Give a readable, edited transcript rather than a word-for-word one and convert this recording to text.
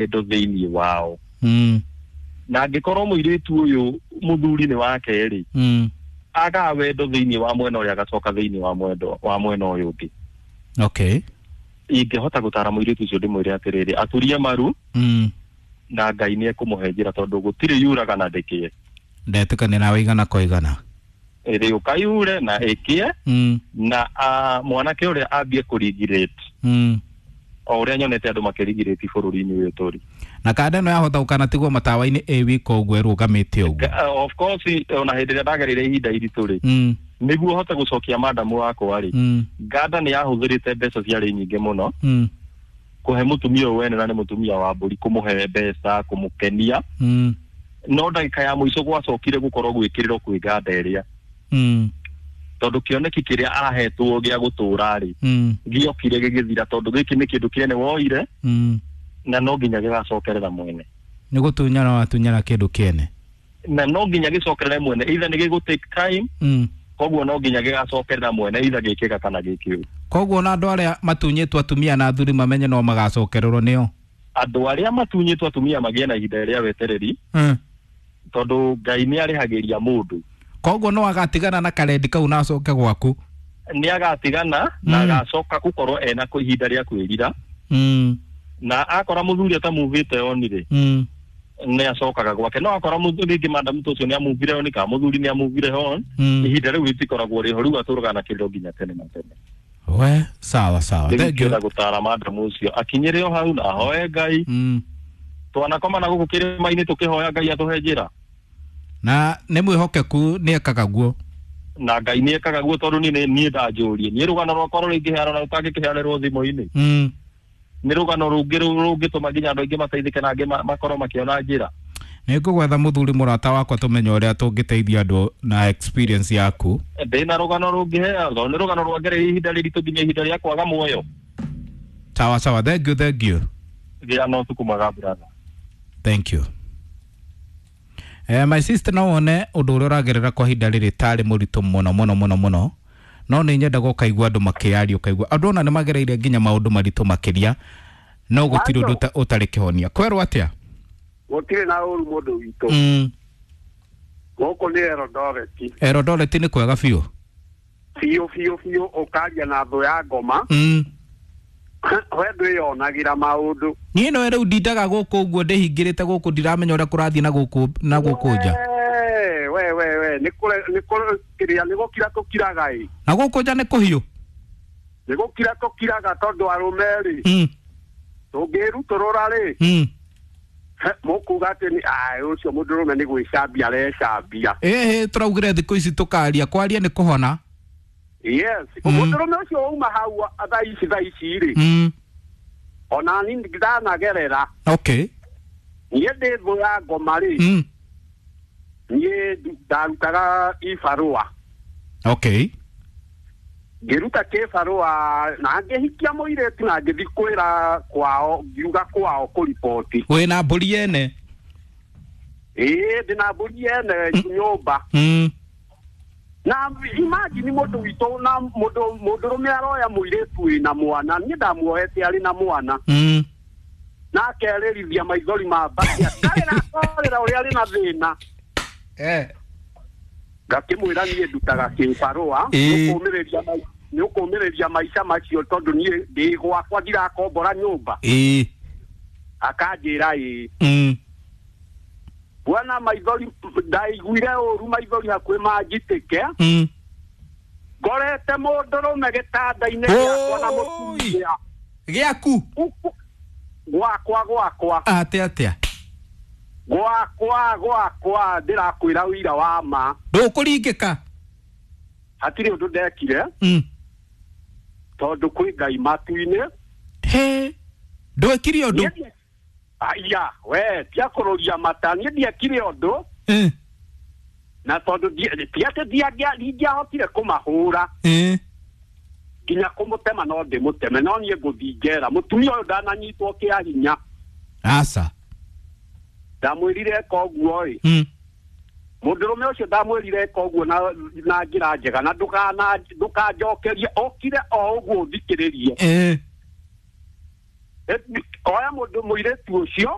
wendo thĩinĩ wao. Na angĩkorwo mũirĩtu ũyũ mũthuri nĩ wake rĩ, agaga wendo thĩinĩ wa mwena ũrĩa agacoka thĩinĩ wa mwendo wa mwena ũyũ ũngĩ. Ingĩhota gũtara mũirĩtu ũcio ndĩmwĩre atĩrĩrĩ, aturie maru na Ngai nĩ ekũmũhe njĩra, tondũ gũtirĩ yuraga na ndĩkĩe. Ndetĩkania nawe igana kwa igana. Ĩrĩ ũkayure na ĩkĩe. Na mwanake ũrĩa ambie kũrigirate o ũrĩa nyonete andũ makĩrigirĩti bũrũri-inĩ ũyũ tũrĩ. Na kanda ĩno yahota gũkanatigwo matawa-inĩ ĩ wika ũguo ĩrũgamĩte ũguo. Of course, ona hĩndĩ ĩrĩa ndagereire ihinda iritũ rĩ, nĩguo hote gũcokia madamu wakwa rĩ, nganda nĩ yahũthĩrĩte mbeca ciarĩ nyingĩ mũno kũhe mũtumia ũyũ wene, na nĩ mũtumia wa mbũri, kũmũhe mbeca, kũmũkenia. No ndagĩka ya mũico gwacokire gũkorwo gwĩkĩrĩrwo kwĩ nganda ĩrĩa, tondũ kĩoneki kĩrĩa ahetwo gĩa gũtũra rĩ, gĩokire gĩgĩthira, tondũ gĩkĩ nĩ kĩndũ kĩene woire na no nginya gĩgacokerera mwene. Nĩ gũtunyana watunyana kĩndũ kĩene. Na no nginya gĩcokerere mwene, either nĩ gĩgũ take time. Koguo no nginya gĩgacokerera mwene, either gĩkĩga kana gĩkĩũru. Koguo na andũ arĩa matunyĩtwo atumia na athuri mamenye no magacokererwo nĩo. Andũ arĩa matunyĩtwo atumia magĩe na ihinda rĩa wetereri, tondũ Ngai nĩ arĩhagĩria mũndũ. Koguo no agatigana na karendi kau na acoke gwaku. Nĩ agatigana na agacoka gũkorwo ena ihinda rĩa kwĩrira. Na akora mũthuri atamuvĩte on rĩ, nĩ acokaga gwake. No akora mũthuri rĩngĩ madamu ũcio nĩ amuvire on, kana mũthuri nĩ amuvire on, ihinda rĩu rĩtikoragwo rĩho, rĩu atũraga na kĩrĩro nginya tene na tene. We sawa sawa, thank you. Rĩu gũtara madamu ũcio akinyĩre o hau na ahoe Ngai. Twanakoma na gũkũ kĩrĩma-inĩ tũkĩhoya Ngai atũhe njĩra. Na nĩ mwĩhokeku, nĩ ekaga guo. Na Ngai nĩ ekaga guo, tondũ niĩ niĩ ndanjũrie, niĩ rũgano rwakwa rũrĩa ingĩheana na rũtangĩkĩheanĩrwo thimũ-inĩ, nĩ rũgano rũngĩ rũngĩtũma nginya andũ aingĩ mateithĩke na angĩ makorwo makĩona njĩra. Nĩ ngũgwetha mũthuri mũrata wakwa tũmenye ũrĩa tũngĩteithia andũ na experience yaku. Ndĩna rũgano rũngĩhea, tondũ nĩ rũgano rwangereire ihinda rĩritũ nginya ihinda rĩa kwaga muoyo. Sawa sawa, thank you, thank you. Gĩa na ũtukũ mwega, brother. Thank you. My sister, no wone ũndũ ũrĩa ũragerera kwa ihinda rĩrĩ tarĩ mũritũ mũno mũno mũno mũno, no nĩ nyendaga ũkaigua andũ makĩaria, ũkaigua andũ ona nĩ magereire nginya maũndũ maritũ makĩria, no gũtirĩ ũndũ ũtarĩ kĩhonia. Kwerwo atĩa? Gũtirĩ na ũru, mũndũ witũ. Gũkũ nĩ Eldoret. Eldoret nĩ kwega biũ. Biũ biũ biũ, ũkaria na thũ ya ngoma. We ndwĩyonagĩra maũndũ. Niĩ no rĩu ndindaga gũkũ ũguo ndĩhingĩrĩte gũkũ, ndiramenya ũrĩa kũrathiĩ na gũkũ na gũkũ nja. We we we, nĩ kũre nĩ kũre kĩrĩa nĩ gũkira tũkiraga ĩ. Na gũkũ nja nĩ kũhiũ. Nĩ gũkira tũkiraga, tondũ arũme rĩ, tũngĩrutũrũra rĩ, mũkuga atĩ nĩ ai ũcio mũndũrũme nĩ gwĩcambia arecambia. Ĩhĩ, tũraugire thikũ ici tũkaria, kwaria nĩ kũhona. Yes. Mũndũrũme ũcio wauma hau thaa ici rĩ, ona ni ndanagerera. Niĩ ndĩ thũ ya ngoma rĩ, niĩ ndarutaga ibarũa. Ngĩruta kĩbarũa na ngĩhikia mũirĩtu na ngĩthiĩ kwĩra kwao, ngiuga kwao kũriboti. Wĩna mbũri yene? Ĩĩ, ndĩna mbũri yene nyũmba. Na imagine, mũndũ witũ, na mũndũ mũndũrũme aroya mũirĩtu wĩna mwana, niĩ ndamuohete arĩ na mwana, na akerĩrithia maithori ma mbaki, akarĩra akarĩra ũrĩa arĩ na thĩna. Ngakĩmwĩra niĩ ndutaga kĩbarũa, nĩ ũkũmĩrĩria maica macio, tondũ niĩ ndĩ gwakwa, ndirakombora nyũmba. Akanjĩra ĩĩ. Bwana, maithori ndaiguire ũru, maithori hakuhĩ manjitĩke. Ngorete mũndũrũme gĩtanda-inĩ gĩakwa na mũtumia. Gĩaku? Gwakwa, gwakwa. Atĩ atĩa? Gwakwa, gwakwa, ndĩrakwĩra ũira wa ma. Ndũkũringĩka. Hatirĩ ũndũ ndekire, tondũ kwĩ Ngai matu-inĩ. He, ndwekire ũndũ? Aya, we tia kũrũria mata, niĩ ndiekire ũndũ. Na tondũ ti atĩ ndingĩahotire kũmahũra, nginya kũmũtema no ndĩmũteme, no niĩ ngũthiĩ njera. Mũtumia ũyũ ndananyitwo kĩa hinya. Aca. Ndamwĩrire eka ũguo ĩ, mũndũrũme ũcio ndamwĩrire eka ũguo na njĩra njega, na ndũkanjokerie, ũkire o ũguo ũthikĩrĩrie. Oya mũndũ mũirĩtu ũcio.